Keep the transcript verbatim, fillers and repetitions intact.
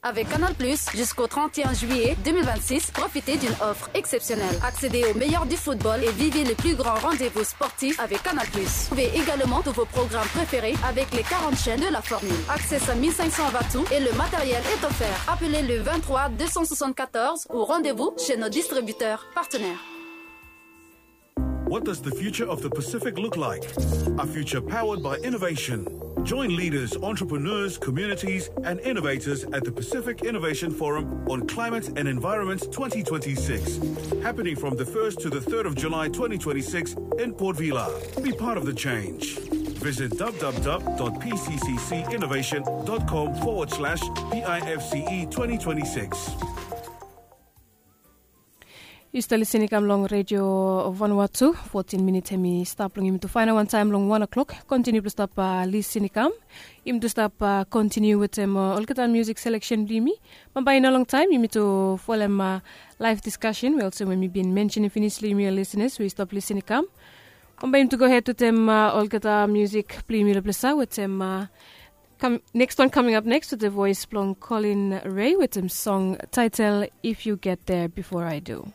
Avec Canal Plus, jusqu'au trente et un juillet deux mille vingt-six, profitez d'une offre exceptionnelle. Accédez au meilleur du football et vivez les plus grands rendez-vous sportifs avec Canal Plus. Trouvez également tous vos programmes préférés avec les quarante chaînes de la formule. Accès à mille cinq cents watts et le matériel est offert. Appelez le vingt-trois deux cent soixante-quatorze ou rendez-vous chez nos distributeurs partenaires. What does the future of the Pacific look like? A future powered by innovation. Join leaders, entrepreneurs, communities, and innovators at the Pacific Innovation Forum on Climate and Environment twenty twenty-six, happening from the first to the third of July twenty twenty-six in Port Vila. Be part of the change. Visit w w w dot p c c c innovation dot com forward slash p i f c e twenty twenty-six. Yu stap lisin i kam long redio vanua tu. Fotin minit hem i stap long yumi tu fainap wantaem long wan o'klok. Kontiniu blong stap lisin i kam. Yumi tu stap kontiniu wetem olgeta musik seleksen blong yumi. Bambae i no longtaem yumi tu folem laef diskasen we olsem we mi bin mensenim finis long yumi ol lisinas we i stap lisin i kam. Bambae yumi tu gohed wetem olgeta musik blong yumi long plesa wetem. Next one coming up next with the voice blong Colin Ray with him song title If You Get There Before I Do.